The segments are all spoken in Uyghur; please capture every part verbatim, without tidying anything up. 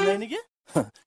نەينىگە؟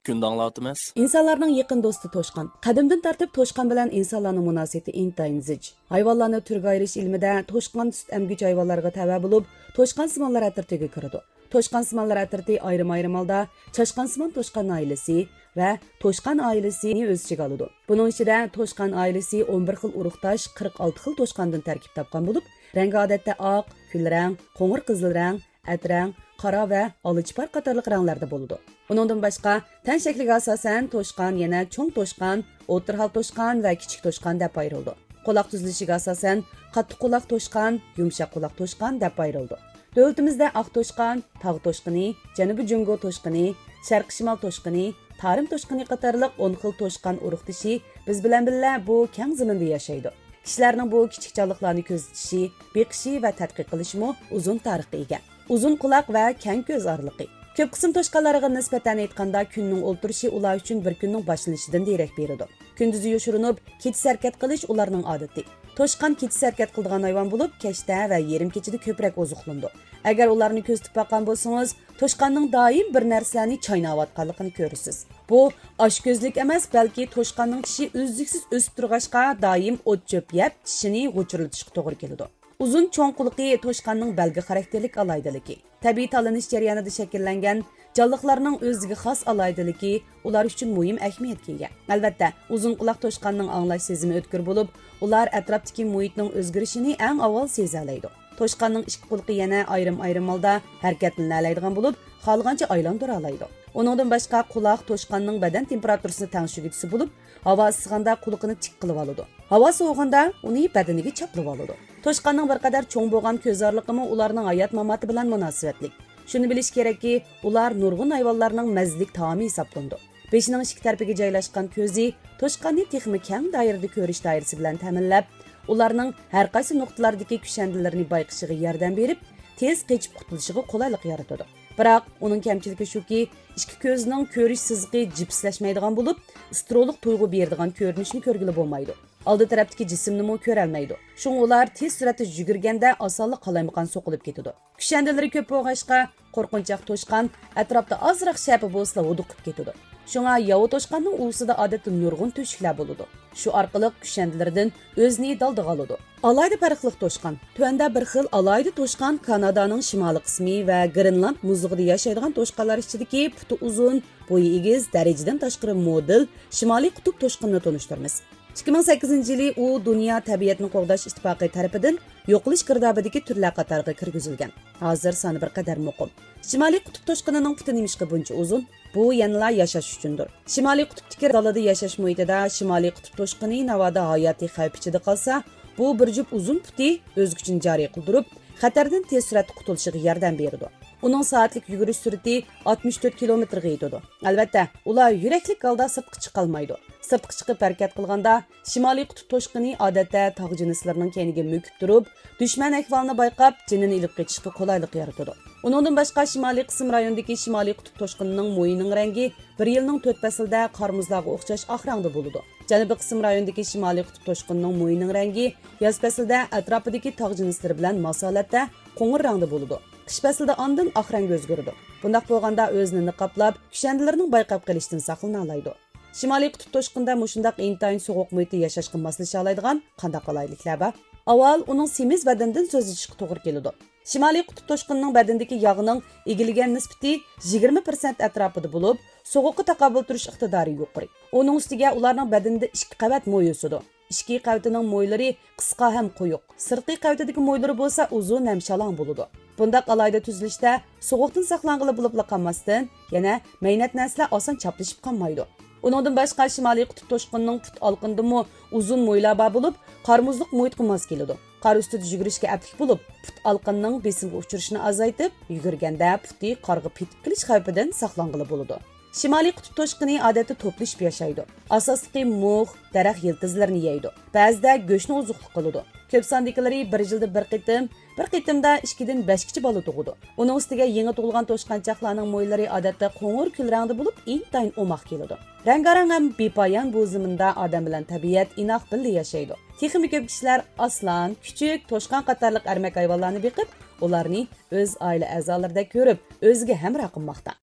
كۈندە ئاڭلاۋاتىمىز. ئىنسانلارنىڭ يېقىن دوستى توشقان. قەدىمدىن تارتىپ توشقان بىلەن ئىنسانلارنىڭ مۇناسىۋىتى ئىنتايىن زىچ. ھايۋانلارنى تۈرگە ئايرىش ئىلمىدە توشقان سۈت ئەمگۈچ ھايۋانلارغا تەۋە بولۇپ، توشقانسىمانلار ئەترىتىگە كىرىدۇ. توشقانسىمانلار ئەترىتى ئايرىم-ئايرىم ھالدا چاشقانسىمان توشقان ئائىلىسى ۋە توشقان ئائىلىسىنى ئۆز ئىچىگە ئالىدۇ. بۇنىڭ ئىچىدە توشقان ئائىلىسى ئون بىر خىل ئۇرۇقداش قىرىق ئالتە خىل توشقاندىن تەركىب تاپقان بولۇپ، رەڭگى ئادەتتە ئاق، كۈل رەڭ، قوڭۇر قىزىل رەڭ، ئەترەڭ، قارا ۋە ئالا چىپار قاتارلىق رەڭلەردە بولىدۇ. ئۇنىڭدىن باشقا، تەن شەكلىگە ئاساسەن توشقان يەنە چوڭ توشقان، ئوتتۇرا ھال توشقان ۋە كىچىك توشقان دەپ ئايرىلىدۇ. قۇلاق تۈزۈلۈشىگە ئاساسەن قاتتىق قۇلاق توشقان، يۇمشاق قۇلاق توشقان دەپ ئايرىلىدۇ. دۆلىتىمىزدە ئاق توشقان، تاغ توشقىنى، جەنۇبىي جۇڭگو توشقىنى، شەرقىي شىمال توشقىنى، تارىم توشقىنى قاتارلىق ئون خىل توشقان ئۇرۇقدىشى بىز بىلەن بىللە بۇ كەڭ زېمىندا ياشايدۇ. كىشىلەرنىڭ بۇ كىچىك جانلىقلارنى كۆزىتىشى، بېقىشى ۋە تەتقىق قىلىشىمۇ ئۇزۇن تارىخقا ئىگە. ئۇزۇن قۇلاق ۋە كەڭ كۆز ئارىلىقى. كۆپ قىسىم توشقانلارغا نىسبەتەن ئېيتقاندا، كۈننىڭ ئولتۇرۇشى ئۇلار ئۈچۈن بىر كۈننىڭ باشلىنىشىدىن دېرەك بېرىدۇ. كۈندۈزى يوشۇرۇنۇپ، كېچىسى ھەرىكەت قىلىش ئۇلارنىڭ ئادىتى. توشقان كېچىسى ھەرىكەت قىلىدىغان ھايۋان بولۇپ، كەچتە ۋە يېرىم كېچىدە كۆپرەك ئوزۇقلىنىدۇ. ئەگەر ئۇلارنى كۆزىتىپ باققان بولسىڭىز، توشقاننىڭ دائىم بىر نەرسىلەرنى چايناۋاتقانلىقىنى كۆرىسىز. بۇ ئاچكۆزلۈك ئەمەس، بەلكى توشقاننىڭ چىشى ئۈزلۈكسىز ئۆسۈپ تۇرغاچقا، دائىم ئوت-چۆپ يەپ، چىشىنى غۇچۇرلىتىشقا توغرا كېلىدۇ. ئۇزۇن چوڭ قۇلىقى توشقاننىڭ بەلگە خاراكتېرلىك ئالاھىدىلىكى. تەبىئىي تاللىنىش جەريانىدا شەكىللەنگەن جانلىقلارنىڭ ئۆزىگە خاس ئالاھىدىلىكى ئۇلار ئۈچۈن مۇھىم ئەھمىيەتكە ئىگە. ئەلۋەتتە، ئۇزۇن قۇلاق توشقاننىڭ ئاڭلاش سېزىمى ئۆتكۈر بولۇپ، ئۇلار ئەتراپتىكى مۇھىتنىڭ ئۆزگىرىشىنى ئەڭ ئاۋۋال سېزەلەيدۇ. توشقاننىڭ ئىككى قۇلىقى يەنە ئايرىم-ئايرىم ھالدا ھەرىكەتلىنەلەيدىغان بولۇپ، خالىغانچە ئايلاندۇرالايدۇ. ئۇنىڭدىن باشقا، قۇلاق توشقاننىڭ بەدەن تېمپېراتۇرىسىنى تەڭشىگۈچىسى بولۇپ، ھاۋا ئىسسىغاندا قۇلىقىنى تىك قىلىۋالىدۇ. ھاۋا سوۋۇغاندا ئۇنى بەدىنىگە چاپلىۋالىدۇ. توشقاننىڭ بىر قەدەر چوڭ بولغان كۆز ئارىلىقىمۇ ئۇلارنىڭ ھايات-ماماتى بىلەن مۇناسىۋەتلىك. شۇنى بىلىش كېرەككى، ئۇلار نۇرغۇن ھايۋانلارنىڭ مەززىلىك تائامى ھېسابلىنىدۇ. بېشىنىڭ ئىككى تەرىپىگە جايلاشقان كۆزى توشقاننى تېخىمۇ كەڭ دائىرىدە كۆرۈش دائىرىسى بىلەن تەمىنلەپ، ئۇلارنىڭ ھەر قايسى نۇقتىلاردىكى كۈشەندىلىرىنى بايقىشىغا ياردەم بېرىپ، تېز قېچىپ قۇتۇلۇشىغا قولايلىق يارىتىدۇ. بىراق، ئۇنىڭ كەمچىلىكى شۇكى، ئىككى كۆزىنىڭ كۆرۈش سىزىقى جىپسلەشمەيدىغان بولۇپ، سترولۇق تۇيغۇ بېرىدىغان كۆرۈنۈشنى كۆرگىلى بولمايدۇ. ئالدى تەرەپتىكى جىسىمنىمۇ كۆرەلمەيدۇ. شۇڭا ئۇلار تېز سۈرئەتتە يۈگۈرگەندە ئاسانلا قالايمىقان سوقۇلۇپ كېتىدۇ. كۈشەندىلىرى كۆپ بولغاچقا، قورقۇنچاق توشقان ئەتراپتا ئازراق شەپە بولسىلا ھودۇقۇپ كېتىدۇ. شۇڭا ياۋا توشقاننىڭ ئۇۋىسىدا ئادەتتە نۇرغۇن تۆشۈكلەر بولىدۇ. شۇ ئارقىلىق كۈشەندىلىرىدىن ئۆزىنى دالدىغا ئالىدۇ. ئالاھىدە پەرقلىق توشقان. تۆۋەندە بىر خىل ئالاھىدە توشقان، كانادانىڭ شىمالىي قىسمى ۋە گرېنلاند مۇزلۇقىدا ياشايدىغان توشقانلار ئىچىدىكى پۇتى ئۇزۇن، بويى ئېگىز، دەرىجىدىن تاشقىرى مودېل شىمالىي قۇتۇپ توشقىنىنى تونۇشتۇرىمىز. ئىككى مىڭ سەككىزىنچى يىلى ئۇ دۇنيا تەبىئەتنى قوغداش ئىتتىپاقى تەرىپىدىن يوقىلىش گىردابىدىكى تۈرلەر قاتارىغا كىرگۈزۈلگەن. ھازىر سانى بىر قەدەر مۇقىم. شىمالىي قۇتۇپ توشقىنىنىڭ پۇتى نېمىشقا بۇنچە ئۇزۇن؟ بۇ يەنىلا ياشاش ئۈچۈندۇر. شىمالىي قۇتۇپتىكى دالىدا ياشاش مۇھىتىدا شىمالىي قۇتۇپ توشقىنى ناۋادا ھاياتىي خەۋپ ئىچىدە قالسا، بۇ بىر جۈپ ئۇزۇن پۇتى ئۆز كۈچىنى جارى قىلدۇرۇپ، خەتەردىن تېز سۈرئەتتە قۇتۇلۇشىغا ياردەم بېرىدۇ. ئۇنىڭ سائەتلىك يۈگۈرۈش سۈرئىتى ئاتمىش تۆت كىلومېتىرغا يېتىدۇ. ئەلۋەتتە، ئۇلار يۈرەكلىك ھالدا سىرتقا چىقالمايدۇ. سىرتقا چىقىپ ھەرىكەت قىلغاندا، شىمالىي قۇتۇپ توشقىنى ئادەتتە تاغ جىنسلىرىنىڭ كەينىگە مۆكۈپ تۇرۇپ، دۈشمەن ئەھۋالىنى بايقاپ، جېنىنى ئېلىپ قېچىشقا قولايلىق يارىتىدۇ. ئۇنىڭدىن باشقا، شىمالىي قىسىم رايونىدىكى شىمالىي قۇتۇپ توشقىنىنىڭ مويىنىڭ رەڭگى بىر يىلنىڭ تۆت پەسلىدە قار مۇزلارغا ئوخشاش ئاق رەڭدە بولىدۇ. جەنۇبىي قىسىم رايونىدىكى شىمالىي قۇتۇپ توشقىنىنىڭ مويىنىڭ رەڭگى ياز پەسلىدە ئەتراپىدىكى تاغ جىنسلىرى بىلەن ماس ھالەتتە قوڭۇر رەڭدە بولىدۇ. قىش پەسلىدە ئاندىن ئاق رەڭگە ئۆزگىرىدۇ. بۇنداق بولغاندا ئۆزىنى نىقابلاپ، كۈشەندىلىرىنىڭ بايقاپ قېلىشىدىن ساقلىنالايدۇ. شىمالىي قۇتۇپ توشقىنىدا مۇشۇنداق ئىنتايىن سوغۇق مۇھىتتا ياشاشقا ماسلىشالايدىغان قانداق ئالاھىدىلىكلەر بار؟ ئاۋۋال ئۇنىڭ سېمىز بەدىنىدىن سۆزلىشىشكە توغرا كېلىدۇ. شىمالىي قۇتۇپ توشقىنىنىڭ بەدىنىدىكى ياغنىڭ ئىگىلىگەن نىسبىتى يىگىرمە پىرسەنت ئەتراپىدا بولۇپ، سوغۇققا تاقابىل تۇرۇش ئىقتىدارى يۇقىرى. ئۇنىڭ ئۈستىگە ئۇلارنىڭ بەدىنىدە ئىككى قەۋەت موي ئۆسىدۇ. ئىچكى قەۋىتىنىڭ مويلىرى قىسقا ھەم قويۇق، سىرتقى قەۋىتىدىكى مويلىرى بولسا ئۇزۇن ھەم شالاڭ بولىدۇ. بۇنداق ئالاھىدە تۈزۈلۈشتە سوغۇقتىن ساقلانغىلى بولۇپلا قالماستىن، يەنە مەينەت نەرسىلەر ئاسان چاپلىشىپ قالمايدۇ. ئۇنىڭدىن باشقا، شىمالىي قۇتۇپ توشقىنىنىڭ پۇت ئالقىنىدىمۇ ئۇزۇن مويلار بار بولۇپ، قار مۇزلۇق مۇھىتقا ماس كېلىدۇ. قار ئۈستىدە يۈگۈرۈشكە ئەپلىك بولۇپ، پۇت ئالقىنىنىڭ بېسىمغا ئۇچرىشىنى ئازايتىپ، يۈگۈرگەندە پۇتى قارغا پېتىپ قېلىش خەۋپىدىن ساقلانغىلى بولىدۇ. شىمالىي قۇتۇپ توشقىنى ئادەتتە توپلىشىپ ياشايدۇ. ئاساسلىقى مۇخ، دەرەخ يىلتىزلىرىنى يەيدۇ. بەزىدە گۆشنى ئوزۇقلۇق قىلىدۇ. كۆپ ساندىكىلىرى بىر يىلدا بىر قېتىم، بىر قېتىمدا ئىككىدىن بەشكىچە بالا تۇغىدۇ. ئۇنىڭ ئۈستىگە يېڭى تۇغۇلغان توشقانچاقلارنىڭ مويلىرى ئادەتتە قوڭۇر كۈل رەڭدە بولۇپ، ئىنتايىن ئوماق كېلىدۇ. رەڭگارەڭ ھەم بىپايان بۇ زېمىندا ئادەم بىلەن تەبىئەت ئىناق بىللە ياشايدۇ. تېخىمۇ كۆپ كىشىلەر ئاسلان، كۈچۈك، توشقان قاتارلىق ئەرمەك ھايۋانلارنى بېقىپ، ئۇلارنى ئۆز ئائىلە ئەزالىرىدەك كۆرۈپ، ئۆزىگە ھەمراھ قىلماقتا.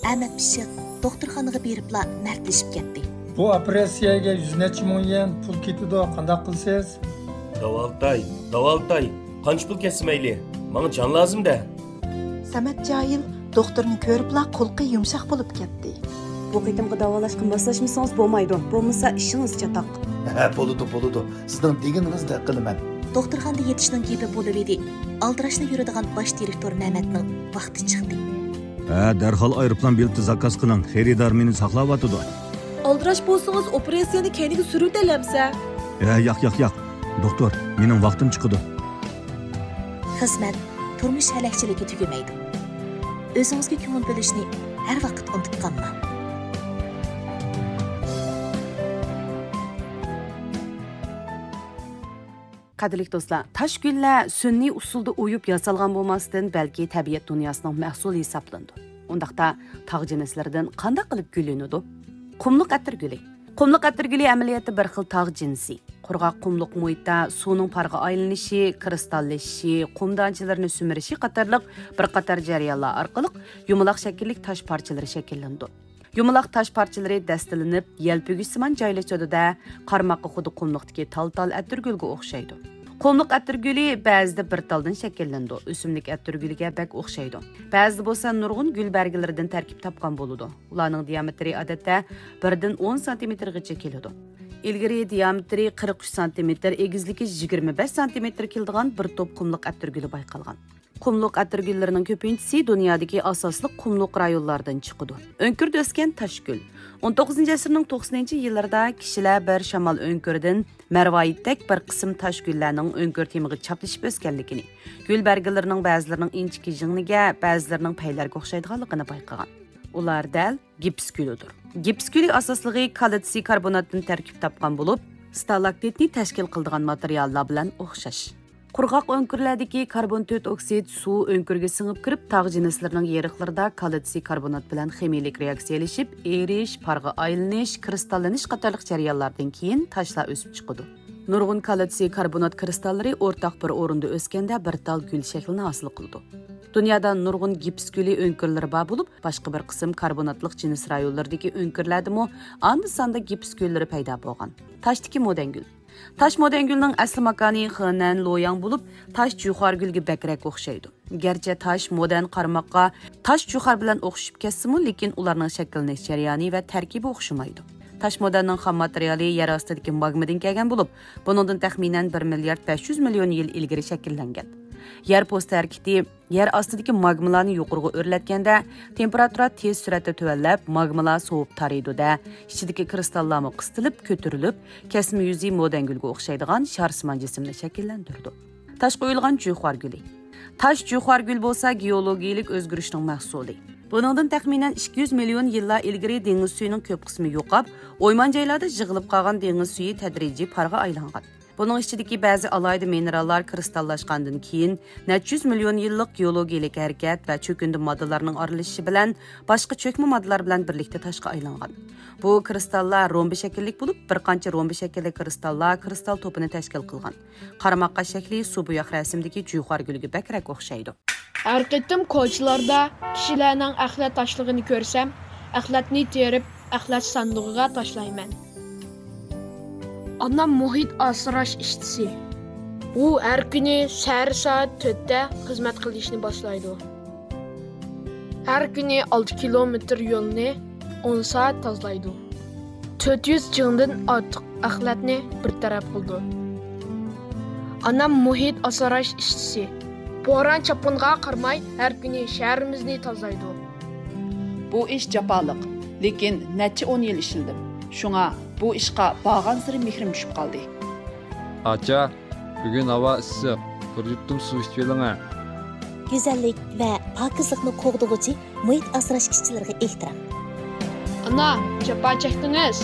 ئەمەت پىششىق دوختۇرخانىغا بېرىپلا مەردلىشىپ كەتتى. بۇ ئوپېراتسىيەگە يۈز نەچچە مىڭ يۈەن پۇل كېتىدۇ، قانداق قىلىسىز؟ داۋالىتاي، داۋالىتاي، قانچە پۇل كەتسە مەيلى، ماڭا جان لازىم-دە. سەمەت جاھىل دوختۇرنى كۆرۈپلا قۇلىقى يۇمشاق بولۇپ كەتتى. بۇ قېتىمقى داۋالاشقا ماسلاشمىسىڭىز بولمايدۇ، بولمىسا ئىشىڭىز چاتاق. ھە، بولىدۇ، بولىدۇ. سىزنىڭ دېگىنىڭىزدەك قىلىمەن. دوختۇرخانىدا يېتىشنىڭ گېپى بولۇۋىدى. ئالدىراشلا يۈرىدىغان باش دىرېكتور مەمەتنىڭ ۋاقتى چىقتى. ھە، دەرھال ئايروپىلان بېلىتى زاكاز قىلىڭ، خېرىدار مېنى ساقلاۋاتىدۇ. ئالدىراش بولسىڭىز، ئوپېراتسىيەنى كەينىگە سۈرۈۋېتەلەمسە؟ ھە، ياق، ياق، ياق. دوختۇر، مېنىڭ ۋاقتىم چىقىدۇ. خىزمەت، تۇرمۇش ھەلەكچىلىكى تۈگىمەيدۇ. ئۆزىڭىزگە كۆڭۈل بۆلۈشنى ھەر ۋاقىت ئۇنتۇپ قالماڭ. قەدىرلىك دوستلار، تاش گۈللەر سۈنئىي ئۇسۇلدا ئويۇپ ياسالغان بولماستىن، بەلكى تەبىئەت دۇنياسىنىڭ مەھسۇلى ھېسابلىنىدۇ. ئۇنداقتا، تاغ جىنسلىرىدىن قانداق قىلىپ گۈل ئۈنىدۇ؟ قۇملۇق ئەتىر گۈلى. قۇملۇق ئەتىر گۈلى ئەمەلىيەتتە بىر خىل تاغ جىنسى. قۇرغاق قۇملۇق مۇھىتتا سۇنىڭ پارغا ئايلىنىشى، كىرىستاللىشىشى، قۇم دانچىلىرىنى سۈمۈرۈشى قاتارلىق بىر قاتار جەريانلار ئارقىلىق يۇمىلاق شەكىللىك تاش پارچىلىرى شەكىللىنىدۇ. يۇمىلاق تاش پارچىلىرى دەستىلىنىپ، يەلپۈگۈچسىمان جايلىشىدۇ-دە، قارىماققا خۇددى قۇملۇقتىكى تال-تال ئەتىرگۈلگە ئوخشايدۇ. قۇملۇق ئەتىرگۈلى بەزىدە بىر تالدىن شەكىللىنىدۇ، ئۆسۈملۈك ئەتىرگۈلىگە بەك ئوخشايدۇ. بەزىدە بولسا نۇرغۇن گۈل بەرگىلىرىدىن تەركىب تاپقان بولىدۇ. ئۇلارنىڭ دىيامېتىرى ئادەتتە بىردىن ئون سانتىمېتىرغىچە كېلىدۇ. ئىلگىرى دىيامېتىرى قىرىق ئۈچ سانتىمېتىر، ئېگىزلىكى يىگىرمە بەش سانتىمېتىر كېلىدىغان بىر توپ قۇملۇق ئەتىرگۈلى بايقالغان. قۇملۇق ئەتىرگۈللىرىنىڭ كۆپىنچىسى دۇنيادىكى ئاساسلىق قۇملۇق رايونلاردىن چىقىدۇ. ئۆڭكۈردە ئۆسكەن تاشگۈل. ئون توققۇزىنچى ئەسىرنىڭ توقسىنىنچى يىللىرىدا كىشىلەر بىر شامال ئۆڭكۈرىدىن مەرۋايىتتەك بىر قىسىم تاشگۈللەرنىڭ ئۆڭكۈر تېمىغا چاپلىشىپ ئۆسكەنلىكىنى، گۈل بەرگىلىرىنىڭ بەزىلىرىنىڭ ئىنچىكە يىڭنىگە، بەزىلىرىنىڭ پەيلەرگە ئوخشايدىغانلىقىنى بايقىغان. ئۇلار دەل گىپس گۈلىدۇر. گىپس گۈلى ئاساسلىقى كالتسىي كاربوناتتىن تەركىب تاپقان بولۇپ، ستالاكتىتنى تەشكىل قىلىدىغان ماتېرىياللار بىلەن ئوخشاش. قۇرغاق ئۆڭكۈرلەردىكى كاربون تۆت ئوكسىد سۇ ئۆڭكۈرگە سىڭىپ كىرىپ، تاغ جىنسلىرىنىڭ يېرىقلىرىدا كالتسىي كاربونات بىلەن خىمىيىلىك رېئاكسىيەلىشىپ، ئېرىش، پارغا ئايلىنىش، كىرىستاللىنىش قاتارلىق جەريانلاردىن كېيىن تاشلار ئۆسۈپ چىقىدۇ. نۇرغۇن كالتسىي كاربونات كىرىستاللىرى ئورتاق بىر ئورۇندا ئۆسكەندە بىر تال گۈل شەكلىنى ھاسىل قىلىدۇ. دۇنيادا نۇرغۇن گىپس گۈلى ئۆڭكۈرلىرى بار بولۇپ، باشقا بىر قىسىم كاربوناتلىق جىنس رايونلىرىدىكى ئۆڭكۈرلەردىمۇ ئاندا-ساندا گىپس گۈللىرى پەيدا بولغان. تاشتىكى مودەنگۈل. تاش مودەنگۈلنىڭ ئەسلى ماكانى خېنەن لوياڭ بولۇپ، تاش جۇخارگۈلگە بەكرەك ئوخشايدۇ. گەرچە تاش مودەن قارىماققا تاش جۇخار بىلەن ئوخشىشىپ كەتسىمۇ، لېكىن ئۇلارنىڭ شەكىللىنىش جەريانى ۋە تەركىبى ئوخشىمايدۇ. تاش مودەننىڭ خام ماتېرىيالى يەر ئاستىدىكى ماگمىدىن كەلگەن بولۇپ، بۇنىڭدىن تەخمىنەن بىر مىليارد بەش يۈز مىليون يىل ئىلگىرى شەكىللەنگەن. يەر پوستى ھەرىكىتى يەر ئاستىدىكى ماگمىلارنى يۇقىرىغا ئۆرلەتكەندە، تېمپېراتۇرا تېز سۈرئەتتە تۆۋەنلەپ، ماگمىلار سوۋۇپ تارىيدۇ-دە، ئىچىدىكى كىرىستاللارمۇ قىستىلىپ، كۆتۈرۈلۈپ، كەسمە يۈزى مودەنگۈلگە ئوخشايدىغان شارسىمان جىسىمنى شەكىللەندۈرىدۇ. تاشقا ئويۇلغان جۇخارگۈلى. تاش جۇخارگۈل بولسا گېئولوگىيىلىك ئۆزگىرىشنىڭ مەھسۇلى. بۇنىڭدىن تەخمىنەن ئىككى يۈز مىليون يىللار ئىلگىرى دېڭىز سۈيىنىڭ كۆپ قىسمى يوقاپ، ئويمان جايلاردا يىغىلىپ قالغان دېڭىز سۈيى تەدرىجىي پارغا ئايلانغان. بۇنىڭ ئىچىدىكى بەزى ئالاھىدە مىنېراللار كىرىستاللاشقاندىن كېيىن، نەچچە يۈز مىليون يىللىق گېئولوگىيىلىك ھەرىكەت ۋە چۆكۈندە ماددىلارنىڭ ئارىلىشىشى بىلەن باشقا چۆكمە ماددىلار بىلەن بىرلىكتە تاشقا ئايلانغان. بۇ كىرىستاللار رومبا شەكىللىك بولۇپ، بىر قانچە رومبا شەكىللىك كىرىستاللار كىرىستال توپىنى تەشكىل قىلغان. قارىماققا شەكلى سۇ بوياق رەسىمدىكى جۇخارگۈلگە بەكرەك ئوخشايدۇ. ھەر قېتىم كوچىلاردا كىشىلەرنىڭ ئەخلەت تاشلىغىنى كۆرسەم، ئەخلەتنى تېرىپ، ئەخلەت ساندۇقىغا تاشلايمەن. ئانام مۇھىت ئاسراش ئىشچىسى. ئۇ ھەر كۈنى سەھەر سائەت تۆتتە خىزمەت قىلىشنى باشلايدۇ. ھەر كۈنى ئالتە كىلومېتىر يولنى ئون سائەت تازىلايدۇ. تۆت يۈز چىڭدىن ئارتۇق ئەخلەتنى بىر تەرەپ قىلىدۇ. ئانام مۇھىت ئاسراش ئىشچىسى. بوران-چاپقۇنغا قارىماي، ھەر كۈنى شەھىرىمىزنى تازىلايدۇ. بۇ ئىش جاپالىق، لېكىن نەچچە ئون يىل ئىشلىدىم. شۇڭا بۇ ئىشقا بارغانسېرى مېھرىم چۈشۈپ قالدى. ئاچا، بۈگۈن ھاۋا ئىسسىق، بىر يۇتۇم سۇ ئىچىۋېلىڭە. گۈزەللىك ۋە پاكىزلىقنى قوغدىغۇچى مۇھىت ئاسراش ئىشچىلىرىغا ئېھتىرام. ئانا، جاپا چەكتىڭىز.